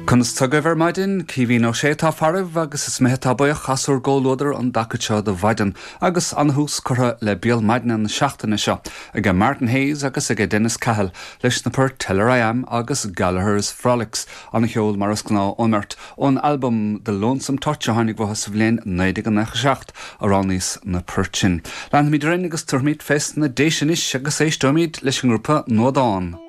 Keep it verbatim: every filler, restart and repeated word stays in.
Conas tá agaibh ar maidin Caoimhín Ó Sé atá faraibh agus is mé atá buíoch as bhur gcomhluadar an dtaca seo de mhaidin agus an-thús curtha le béal maidine na seachtaine seo ag Martin Hayes agus ag Dennis Cahill leis na poirt Tell Her I Am agus Gallagher's Frolics an-cheol mar is gnáth ón mbeirt ón album The Lonesome Touch a tháinig amach sa bhliain naoi déag nócha seacht a roghnaíos na poirt sin. Leanfaimid orainn agus tabharfaimid fés na Déise anois agus éisteoimid leis an ngrúpa Nuadán.